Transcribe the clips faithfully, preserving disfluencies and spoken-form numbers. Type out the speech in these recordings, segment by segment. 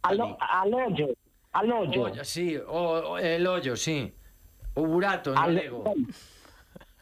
Al, al hoyo, al hoyo. Olla, sí, o, o, el hoyo, sí. O burato en galego.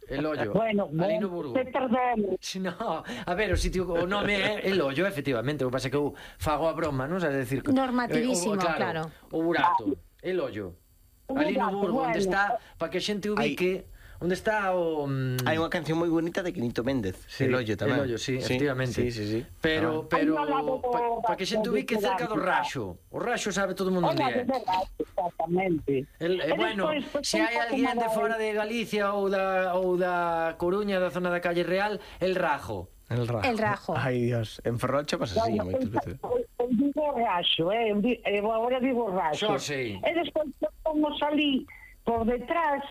El hoyo. Bueno, ali no bueno, Burgo. te perdono. No, a ver, o sitio, o nome é el hoyo, efectivamente. O que pasa é que eu fago a broma, non? Sabes decir, normativísimo, eh, o, claro. O burato, el hoyo. Ali no Burgo, onde está, para que a xente ubique, onde está o... mm, Hai unha canción moi bonita de Quinito Méndez, Sí, El hoyo tamén. El hoyo, sí, efectivamente. Sí, sí, sí. Pero, Ah, pero, Ai, no, no, no, para pa que xente ubique cerca do Raxo. O Raxo sabe todo o mundo onde Hola, é. de verdad, exactamente. El, eh, E bueno, despois, se hai alguén de fora de Galicia ou da, ou da Coruña, da zona da Calle Real, el Rajo. El Rajo. El Rajo. Ai, Dios, en Ferrolcho pasa así Bueno, moitas veces. eu, eu digo raxo, eh? eu, di, eu agora digo raxo. Xo sei. E despois como salí por detrás,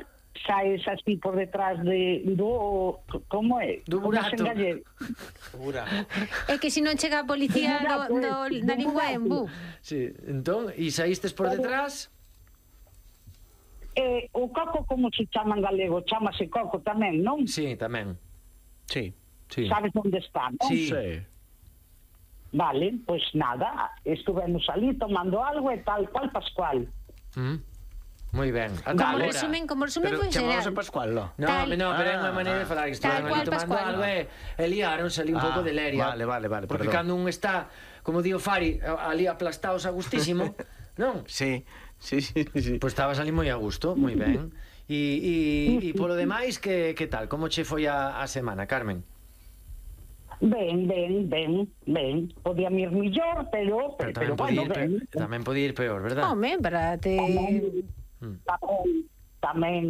saes así por detrás de do... Como é? Do Como burato. se engallé? É que se non chega a policía do, do, da lingua en bu. Sí, entón, e saístes por detrás? Eh, o coco como se chama en galego? Chámase coco tamén, non? Sí, tamén. Sí. Sí. Sabes onde está, non? Sí. Sí. Vale, pois pues nada, estuvemos ali tomando algo e tal cual Pascual. Mm. Moi ben. Ata Como agora. resumen, como resumen Pero foi chamamos xeral. a Pascual, no? No, Tal- no, pero é unha Ah, maneira de falar que tal estaban cual, ali tomando Pascual. algo e, e liaron, salí un Ah, pouco de leria. vale, vale, vale, Porque perdón. cando un está, como dio Fari, ali aplastados a gustísimo, non? Sí, sí, sí, sí. Pois estabas ali moi a gusto, moi ben. E, e, e polo demais, que, que tal? Como che foi a, a semana, Carmen? Ben, ben, ben, ben. Podía ir millor, pero, pero, Pero tamén pero podía bueno, ir, ben. pe- tamén podía ir peor, verdad? Home, para te... Tamén, tamén.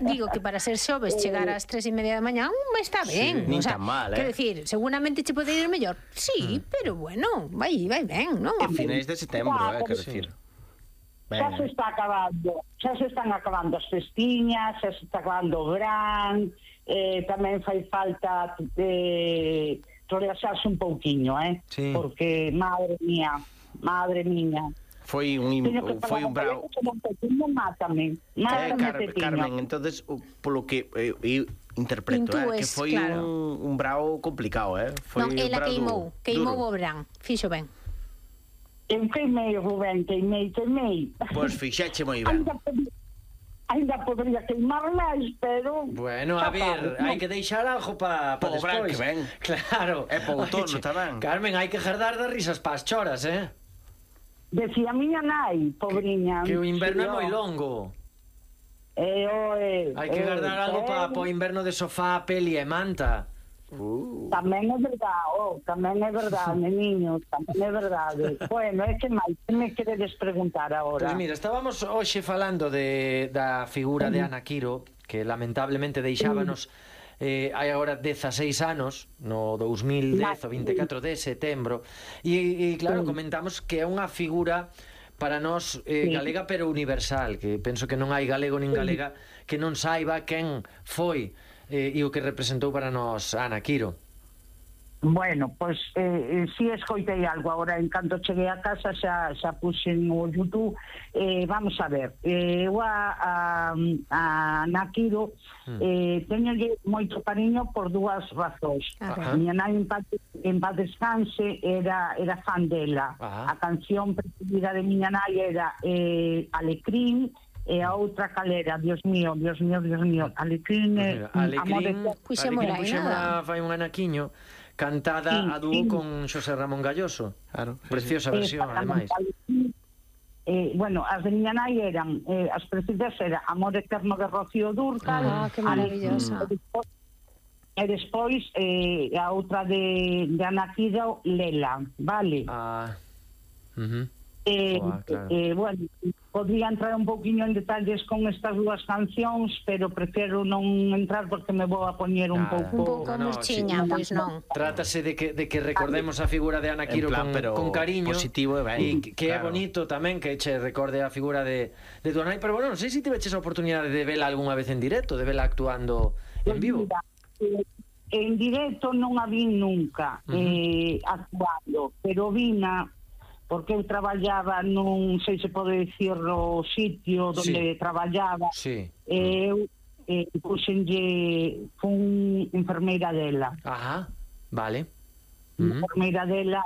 Digo que para ser xoves chegar ás tres e media da mañá un está ben, nin o sea, tan mal, eh. quero decir, seguramente che pode ir mellor. Sí, pero bueno, vai, vai ben, non? A finais de setembro, eh, quero Sí. decir. Xa se Ben. está acabando, xa se están acabando as festiñas, xa se está acabando o verán, eh, tamén fai falta eh, relaxarse un pouquiño, eh? Sí. Porque, madre mía, madre mía. Foi un Teño que foi un bravo. un pequeno, mátame, Eh, mátame, Car pequeno. Carmen, entonces o- polo que eh, eu interpreto, eh, que Intúes, foi claro. un, un bravo complicado, eh? Foi Non, un ela bravo queimou, duro. queimou Duro. o verán, fixo ben. Eu queimei, Rubén, queimei, queimei. Pois fixeche moi ben. Ainda podía, ainda podría queimar máis, pero... Bueno, a xa ver, sabes, hai non? que deixar algo para pa Pa o verán despois. que ven. Claro. E pa o outono Oiche, tamén. Carmen, hai que jardar das risas pas choras, eh? Decía a miña nai, pobriña. Que o inverno é Sí, moi ó. longo. Eh, oe, Hai que eh, guardar algo eh, para o inverno de sofá, peli e manta. Uh. Tamén é verdade, oh, tamén é verdade, niño, tamén é verdade. Bueno, é que máis, que me queredes preguntar agora? Pois mira, estábamos hoxe falando de, da figura de Ana Quiro, que lamentablemente deixábanos eh, hai agora dezaseis anos, no dous mil dez, o veinticuatro de setembro, e, e claro, comentamos que é unha figura para nós eh, Sí. galega pero universal, que penso que non hai galego nin galega que non saiba quen foi eh, e o que representou para nós Ana Quiro. Bueno, pois eh, eh, si escoitei algo agora en canto cheguei a casa xa, xa puxen o YouTube. eh, vamos a ver, eh, eu a, a, a Nakiro eh, teñolle moito cariño por dúas razóns. Ajá. Miña nai en paz, en paz descanse era, era fan dela. Ajá. A canción preferida de miña nai era eh, Alecrín, e a outra calera, Dios mío, Dios mío, Dios mío, Alecrín, Pues eh, mira, Amor Alecrín, de... Puxémola Alecrín aí, nada. puxémola fai un anaquiño cantada Sí, a dúo sí. con Xosé Ramón Galloso. Claro, sí, Preciosa versión, ademais. Eh, bueno, as de miña nai eran eh, as preferidas era Amor Eterno de Rocío Dúrcal. Ah, que maravillosa. E despois, e despois eh, a outra de, de Ana Quiro, Lela, vale? Ah. Uh-huh. Eh, Joa, claro. eh, bueno, podría entrar un pouquiño en detalles con estas dúas cancións, pero prefiero non entrar porque me vou a poñer un Nada. pouco... Un pouco No, no, murchiña, sí. pois non. Trátase de que, de que recordemos a figura de Ana En Quiro plan, con, pero con cariño positivo e ben, e que, que claro. é bonito tamén que che recorde a figura de, de tu nai, pero bueno, non sei se tiveches a oportunidade de vela algunha vez en directo, de vela actuando en vivo. Mira, eh, en directo non a vi nunca Ujú. eh, actuando, pero vina porque eu traballaba nun, sei se pode dicir, o sitio onde Sí. traballaba. Sí. E eu eh, puxenlle, fun enfermeira dela. Ajá. Vale. Uh Uh-huh. -huh. Enfermeira dela